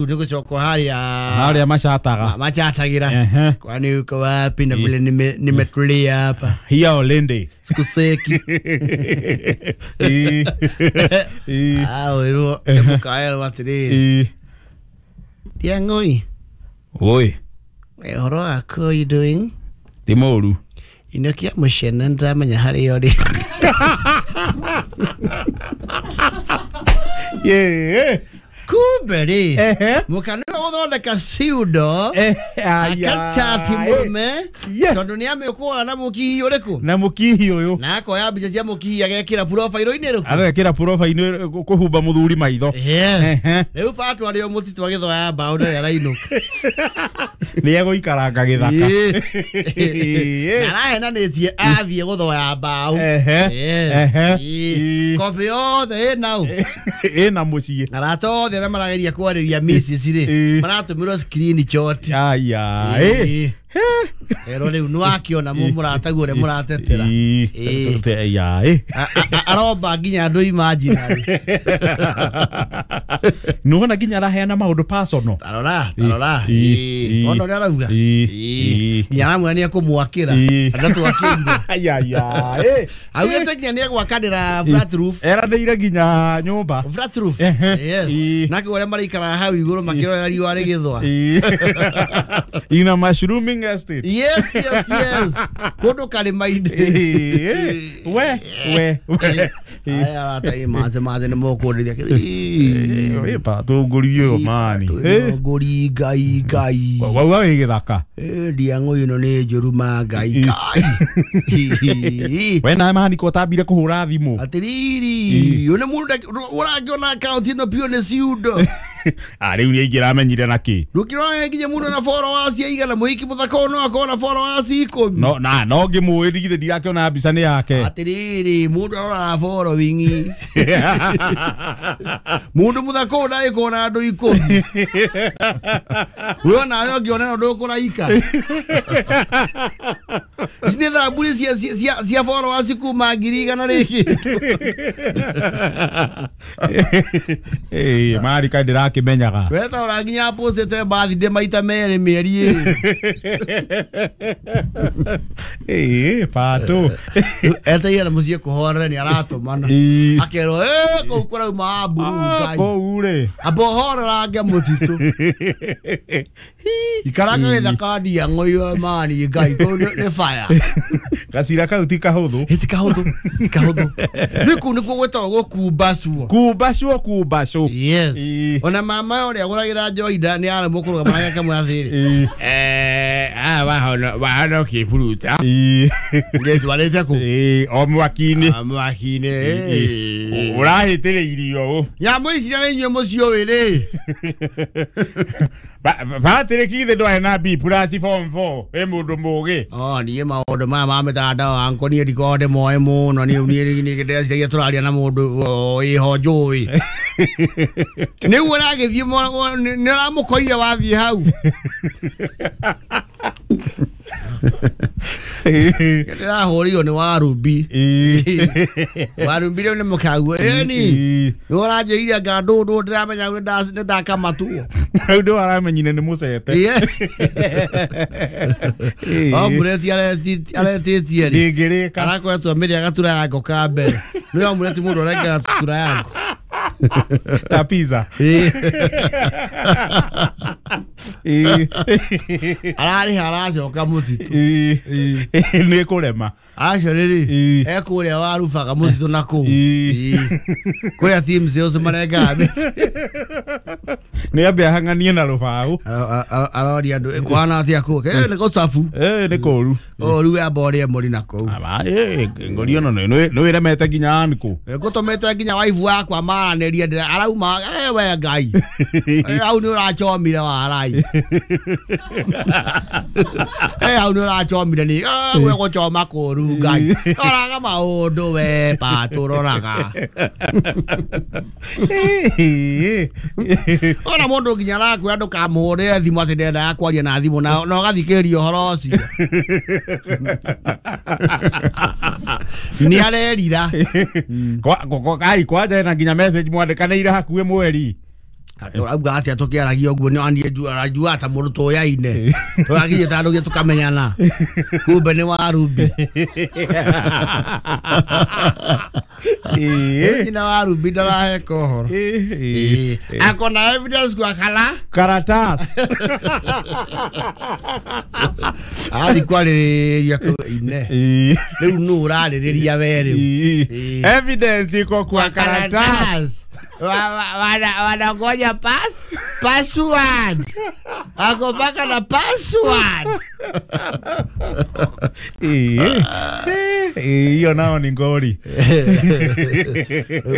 Nĩ gũcoka harĩa Harĩa macataga. Machatagĩra. Ehe. Kwani uko wapi na vile nimetulia hapa. Hiya olende. Sikuseki. Ĩ. Ĩ. Ah, wĩrwo nĩ mũkaerwo atĩrĩrĩ. Ĩ. Tiang'oi. Oi. Ũhoro waku, how you doing? Ti mũru. Inũkia mũcene nĩndĩramenya harĩa ũrĩ. Yeah. Kumbe rĩ Ehe. mũka nĩwe gũthondeka ciundo Aya. akachati mũrũme Yeah. tondũ nĩ amĩũkũaga na mũkihi ũrĩkũ Na mũkihi ũyũ. na akoya mbica cia mũkihi agekĩra profile-inĩ ĩrĩkũ. Agekĩra profile kũhumba mũthuri maitho. Yes. Ehe. Rĩu patũ arĩ o mũtitũ agĩthoya mbaũ ndarĩ arainũka. Nĩ egũikaranga gĩthaka. Ĩĩ. Na arahenanĩtie athiĩ gũthoya mbaũ. Ehe. Yes. Ehe. Ĩĩ. Ĩĩ. Kobi yothe ĩnau. Ĩna mũciĩ. Arata othe arĩa marageria kwarĩria missus rĩ Ĩĩ. maratũmĩrwo screenshot. Aya. Ĩ. Ĩĩ. Erwo rĩu nĩwakĩona mũrataguo ũrĩa mũratetera. Ĩ. Ĩĩ. Aya. Ĩ. Aromba nginya andũ imaginary. Nĩwona nginya araheana maũndũ personal. Tarora, tarora. Ĩĩ. Ĩĩ. Ona ũrĩa arauga. Ĩĩ. Ĩĩ. Ĩĩ. Nginya aramwĩra nĩekũmwakĩra. Ĩĩ. Ndatwakĩire. Aya. Ĩ. Augĩte nginya nĩegwakanĩra flat roof. Eranĩire nginya nyũmba. Flat roof. Ehe. Yes. Ĩĩ. Nake ũrĩa maraikaraga hau igũrũ makĩrorera riũa rĩgĩthũa. Ĩĩ. Ina mushrooming estate. Yes, yes, yes. Kũndũ karĩma-inĩ. Ĩĩ. We we we. Aya arata ĩ manze manze nĩ mũkũndĩria. Ĩ patũngũri ũyũ mani. Ĩ. Ngũri ngai ngai. Wauga wĩ gĩthaka. Ĩ, ndiang'ũ ĩno nĩ njũru ma ngai ngai. We nawe mahaniko ũtambire kũhũra thimũ. Atĩrĩrĩ, ũyũ nĩ mũndũ ũrangĩona akaunti ĩno biũ nĩ ciundo. Ah, rĩu nĩ aingĩ ramenyire na kĩ. Ndũkĩrora nginya mũndũ na followers aigana mũhiki mũthaka ũyũ no akorwo na followers 10. No na no ngĩmũĩ ndigithĩ ndirakĩona mbica nĩ yake. Atĩrĩrĩ, mũndũ aroraga following. Mũndũ mũthaka ũyũ ndagĩkorwo na andũ 10. We onawe ũngĩona no ndũkũraika. Ici nĩ thamburi cia followers kuma 100,000 rĩngĩ. Ĩ mari kaĩ ndĩrakĩmenyaga. We ta ũranginya postĩte birthday maita merĩ mĩeri ĩrĩ. Ĩ patũ. Etereire na mũciĩ kũhorere nĩ aratũmana. Ĩ. Akerwo ĩ kũu kũrauma mburu ngai. Kũu rĩ. Amba ũhorerange mũtitũ. Ikaranga gĩthaka ndiang'ũ iyo mani ngai kũu nĩ fire. Gacira kau ti kahũthũ. Ĩ ti kahũthũ, ti kahũthũ. Rĩu kũu nĩkuo gwĩtagwo gũkumbacwo. Kumbacwo kumbacwo. Yes. Ĩ. Ona mama ũrĩa agũragĩra njohi nĩ aremwo kũrũgama nake akamwĩra atĩrĩrĩ. Ĩ. Wahona ũkĩburuta. Ĩ. Ũgĩtwarĩte kũ? Ĩ o mwaki-inĩ. Ah, mwaki-inĩ. Ĩ. Ũrahĩtĩrĩirio ũ. Nyamũ ici na inyuĩ mũciũĩ rĩ. Patrick ithe ndwarĩ na B plus form 4 wĩ mũndũ mũgĩ. Oh, niĩ maũndũ maya ma mĩtandao anko niĩ ndikoragwo ndĩmoĩ mũno niĩ niĩ ndĩreciragia tũraria na mũndũ ĩho njũĩ. Nĩguo ũragĩthiĩ nĩ ũramũkoire wathiĩ hau. Ndĩrahũrirwo nĩ Warumbi. Warumbi rĩu nĩ mũkaguo. Ĩni. Nĩ ũranjĩrire anga ndũndũ ndĩramenya nĩ ndakamatwo. Rĩu ndĩ waramenyire nĩ mũcete. Yes. Omureti aretĩtie rĩ. Ndĩngĩrĩka. Arakoretwo mĩrĩ agatura yango ka mbere. Nĩ omureti mũndũ ũrengera gatura yango. Ta pizza. Ĩ. Ararĩha aracoka mũtitũ. Ĩ. Nĩ kũrema. Acio rĩrĩ Ĩ. ekũrĩa warubaga mũtitũ na kũu. Ĩ. Ĩ. Kũrĩa team sales marengaga mĩtĩ. Nĩ ambe ahang'anie na rũbaũ. Aroria andũ kũhana atĩa kũu. Ĩ nĩ gũcabu. Ĩ nĩ kũru. O rĩu amba ũrĩe mũri na kũu. Aba ĩ ngori ono nĩ wĩremete nginya ankũ. Ngũtũmĩte nginya waibu wakwa maranĩrie ndĩra arauma ĩ we ngai. Ĩ, hau nĩ ũrachomire warai. Ĩ hau nĩ ũrachomire nĩ we gũchoma kũru ngai. Roraga maũndũ we patũ roraga. Ona mũndũ nginya arakwĩra ndũkamũhũrĩre thimũ atĩ ndendaga kwaria na thimũ na ũgathikĩrĩria ũhoro ũcio. Nĩ arerira. Ai kwanja na nginya message mwandĩkanĩire hakuhĩ mweri. Auga atia tukiaragia uguo ni anie arajua ta mundu tuyaine turagiye ta andu tukamenyana kumbe ni wa Ruby. Nyina wa Ruby ndaraheka uhoro akona evidence kwa kala karatas athi kwarĩrĩria ine rĩu nũ ũrarĩrĩria we rĩu evidence iko kwa karatas wanangoja password ako mpaka na password. Hiyo nao ni ngori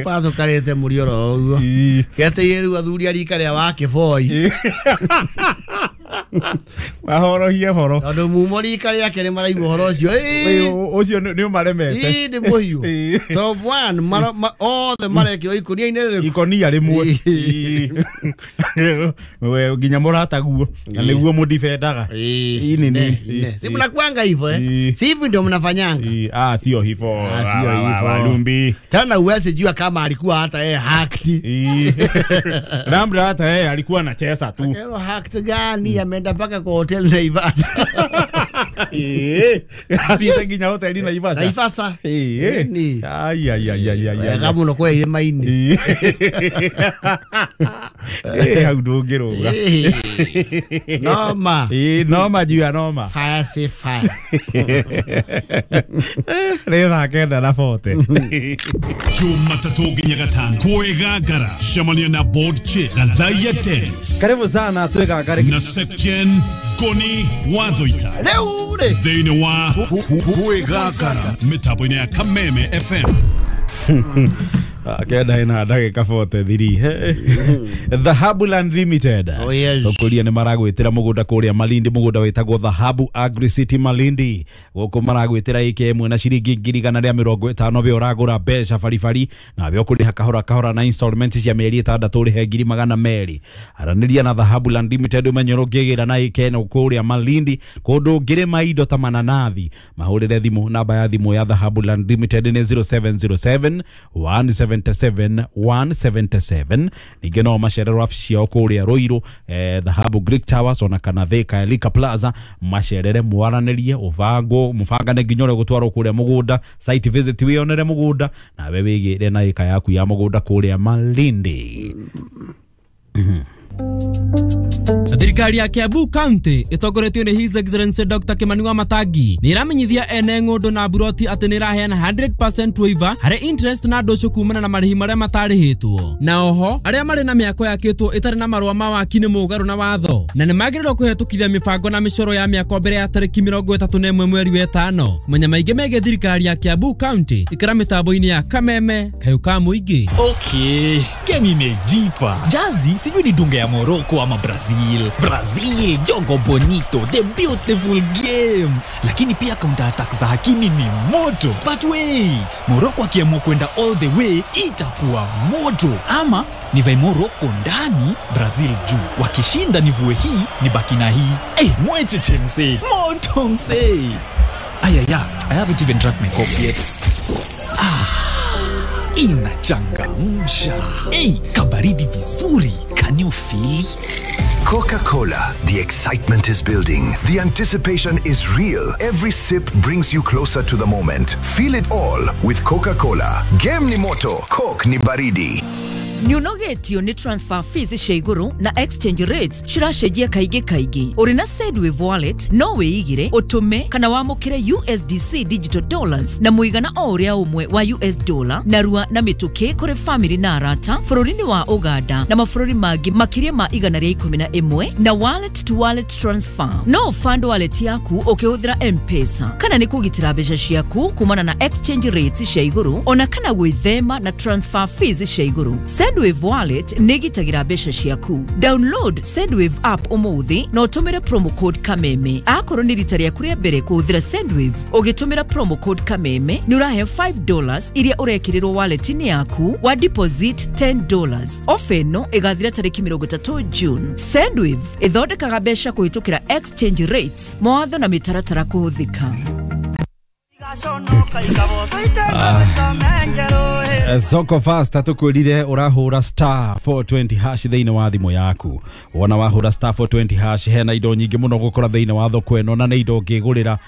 paso karete murioro uguo gete rĩu athuri a rika rĩa wa kĩboi mahorohie horo tondu mumo rika rĩake nĩ maraigua ũhoro ũcio ũcio nĩ ũmaremete nĩ mũhiũ top 1 othe marekĩrwo ikũnia-inĩ rĩrĩkũ ikonia rĩmwe we nginya mũrataguo na nĩguo mũdifendaga si mnakuanga hivyo eh si hivi ndio mnafanyanga. Ah, sio hivyo, sio hivyo Walumbi. Tena uwezi jua kama alikuwa hata yeye hacked. Labda hata yeye alikuwa anacheza tu. Kero hacked gani ameenda mpaka kwa hotel Naivasha. Apita nginya hotel Naivasha. Naivasha. Ni. Ai ai ai ai ai. Kama unakuwa ile maini. Hau ndũngĩrũga. Noma. Noma juu ya noma. Fire say fire. Rĩ thaa 9:40. Jumatatu nginya gatano kwĩgangara cemania na board chair Gathaiya Dennis. Karibu sana twĩgangare na section Koni Wathoita rĩu rĩ thĩinĩ wa kwĩgangara mĩtambo-inĩ ya Kameme FM. 9:43 Dhahabu Land Limited. Oh, yes. Tokuria nĩ maragwĩtĩra mũgũnda kũrĩa Malindi, mũgũnda wĩtagwo Dhahabu Agri City Malindi. Gũkũ maragwĩtĩra ĩka ĩmwe na ciringi 150,000 be ũragũra mbeca baribari na be ũkũrĩha kahora kahora na installment cia mĩeri 6 ũrĩhe 200,000. Aranĩria na Dhahabu Land Limited ũmenye ũrĩa ũngĩgĩra na ĩka ĩno kũrĩa Malindi kũndũ ũngĩrĩma indo ta mananathi. Mahũrĩre thimũ, namba ya thimũ ya Dhahabu Land Limited nĩ 0707 177 177. Ningĩ no macererwo wabici ciao kũrĩa Ruiru, Dhahabu Greek Towers ona kana Thika Elika Plaza, macerere mwaranĩrie ũbango mũbangane nginya ũrĩa gũtwarwo kũrĩa mũgũnda, site visit wĩonere mũgũnda nawe wĩgĩre na ĩka yaku ya mũgũnda kũrĩa Malindi. Thirikari ya Kiambu County ĩtongoretio nĩ His Excellency Dr. Kimani Wamatangi nĩ ĩramenyithia ene ng'ũndũ na buroti atĩ nĩ ĩraheana 100% waiver harĩ interest na ndũcũ kumana na marĩhi marĩa matarĩhĩtwo, na oho arĩa marĩ na mĩako yakĩtwo ĩtarĩ na marũa ma waki nĩ mũgarũ na watho na nĩ magĩrĩirwo kũhetũkithia mĩbango na mĩcoro ya mĩako mbere ya tarĩki 31 mweri wa 5. Kũmenya maingĩ megiĩ thirikari ya Kiambu County ikĩra mĩtambo-inĩ ya Kameme kayũ ka mũingĩ. Okay, game imejipa. Jazi sijui ni dunga ya Morocco ama Brazil. Brazil, jogo bonito, the beautiful game. Lakini pia counter attack za Hakimi ni moto. But wait, Morocco akiamua kwenda all the way itakuwa moto. Ama nivae Morocco ndani, Brazil juu. Wakishinda nivue hii, nibaki na hii. Mwecheche msee, moto msee. Ayaya, I haven't even drank my coffee yet. Inachangamsha. Kabaridi vizuri. Can you feel it? Coca-Cola. The excitement is building. The anticipation is real. Every sip brings you closer to the moment. Feel it all with Coca-Cola. Game ni moto, Coke ni baridi. Nĩũnogetio nĩ transfer fees cia igũrũ na exchange rates ciracenjia kaingĩ kaingĩ. Ũrĩ na Sendwave wallet no wĩigire, ũtũme kana wamũkĩre USDC digital dollars na mũigana o ũrĩa ũmwe wa US dollar narua na mĩtũkĩ kũrĩ family na arata bũrũri-inĩ wa Uganda na mabũrũri mangĩ makĩria ma 111 na wallet to wallet transfer. No fund wallet yaku ũkĩhũthĩra M-Pesa kana nĩ kũgitĩra mbeca ciaku kumana na exchange rates cia igũrũ ona kana gwĩthema na transfer fees cia igũrũ. Sendwave wallet nĩ ĩgitagĩra mbeca ciaku. Download Sendwave app ũmũthĩ na ũtũmĩre promo code Kameme. Akorwo nĩ rita rĩaku rĩa mbere kũhũthĩra Sendwave ũgĩtũmĩra promo code Kameme nĩ ũrahe $5 iria ũrekĩrĩrwo wallet-inĩ yaku wa deposit $10. Ofa ĩno ĩgathira tarĩki 30 June. Sendwave ĩthondekaga mbeca kũhĩtũkĩra exchange rates, mawatho na mĩtaratara kũhũthĩka. Soko Fasta tukwirire urahura star 420 hash thiini wa thimu yaku. Wona wahura star 420 hash hena indo nyingi muno gukora thiini wa thoko eno na nĩ indo ngigurira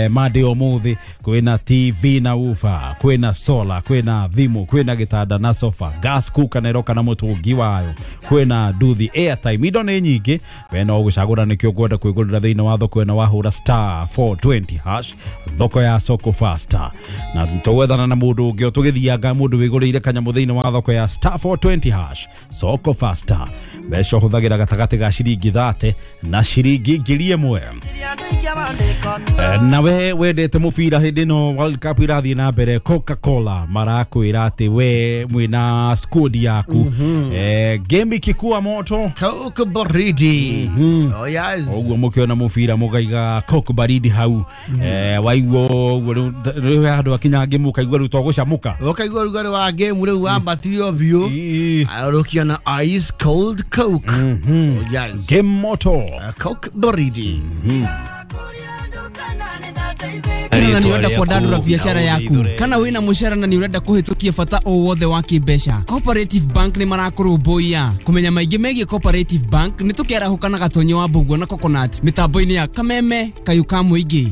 mande umuthi kwina TV na ufa, kwina solar, kwina thimu, kwina gitanda na sofa, gas cooker na iroka na mutungi wayo, kwina nduthi, airtime, indo nĩ nyingi. We no gucagura nikio kwenda kwigurira thiini wa thoko eno wahura star 420 hash thoko ya Soko Fasta. Na tugwethana na mundu ungi tugithianga mundu wigurire kanyamu thiini wa thoko ya star 420 hash Soko Fasta. Mbeca huthagira gatagati ga ciringi 30 na ciringi 1000. Nawe wendete mubira hindi no World Cup irathie na mbere, Coca-Cola marakwira ati we mwina squad yaku. Game ikikuwa moto Coke baridi. Oh yes. Uguo mukiona mubira mugaiga Coke baridi hau. Waiguo uguo riu handu akinya game ukaigua riu togucamuka. Ukaigua rugari wa game riu wambatire biu. Urukiona ice cold Coke. Oh yes. Game moto Coke baridi. Kana ni urenda kwandandura biashara yaku, kana wina mushara na ni urenda kuhitukia bata o wothe wa kimbeca, Cooperative Bank ni marakurumbuiya. Kumenya maingi megie Cooperative Bank ni tukiarahuka na Gatonyi wa Mbugua na Coconut mitambo-ini ya Kameme Kayu ka Muingi.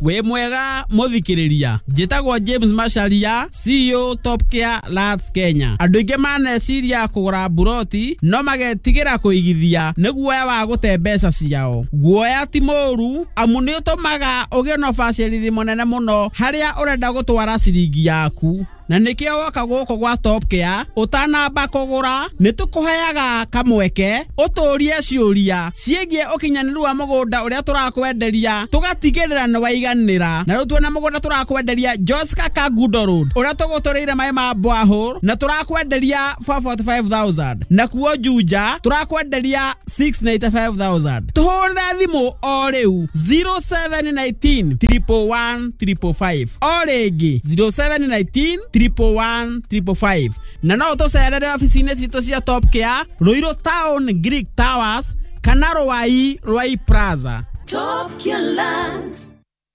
We mwega muthikiriria, njitagwo James Macharia, CEO Top Care Lands Kenya. Andu aingi maneciria kugura buroti no magetigira kuigithia ni guoya wa gute mbeca ciao. Guoya ti mũru amu ni utumaga ugie na ubacĩrĩri mũnene mũno haria urenda gutwara ciringi yaku. Na nikio woka guku gwa Top Care utanamba kugura ni tukuheaga kamweke uturie ciuria ciĩgiĩ ũkinyanĩru wa mũgũnda ũrĩa tũrakwenderia tũgatigĩrĩra nĩ waiganĩra. Na rĩu tuona mũgũnda tũrakwenderia Joska Kangundo Road ũrĩa tũgũtũrĩire maĩ ma borehole na tũrakwenderia 445,000, na kuo Juja tũrakwenderia 695,000. Tũhũrĩre thimũ o rĩu 0719 111 555, o rĩngĩ 0719 111 555. Na no tũcerere ofici-inĩ citũ cia Top Care Ruiru Town Greek Towers kana Ruai Ruai Plaza. Top Care Lands.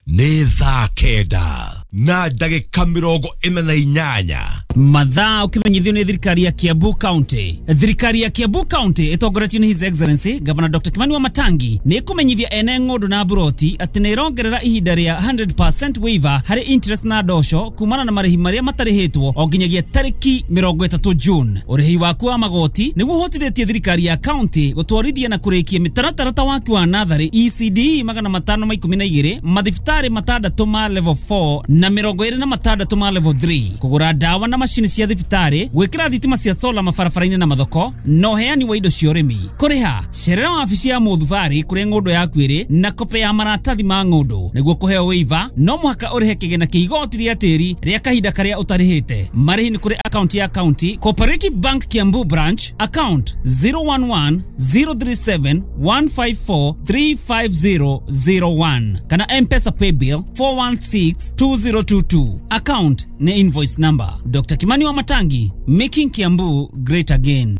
Nĩ thaa 9 na ndagĩka 48. Mathaa ukimenyithio nĩ thirikari ya Kiambu County. Thirikari ya Kiambu County ĩtongoretio nĩ His Excellency Governor Dr. Kimani Wamatangi nĩ ĩkũmenyithia ene ng'ũndũ na buroti atĩ nĩ ĩrongerera ihinda rĩa 100% waiver harĩ interest na ndosho kumana na marĩhi marĩa matarĩhĩtwo o nginyagia tarĩki 30 June. Ũrĩhi waku wa magoti nĩguo ũhotithĩtie thirikari ya county gũtwarithia na kũrĩkia mĩtaratara ta waki wa natharĩ ECD 512, mathibitarĩ 6 ma level 4 na 26 ma level 3, kũgũra ndawa na macini cia thibitarĩ, gwĩkĩra thitima cia sola mabarabara-inĩ na mathoko, na ũheani wa indo cia ũrĩmi. Kũrĩha cerera wabici ya mũthubarĩ kũrĩa ng'ũndũ yaku ĩrĩ na kope ya maratathi ma ng'ũndũ. Nĩguo kũheo waiver no mũhaka ũrĩhe kĩgĩna kĩa igoti rĩa tĩri rĩa kahinda karĩa ũtarĩhĩte. Marĩhi nĩ kũrĩ akaunti ya county Cooperative Bank Kiambu Branch, account 011 037 154 35001 kana M-Pesa paybill 416 2022. Account ni invoice number. Dr. Kimani Wamatangi, making Kiambu great again.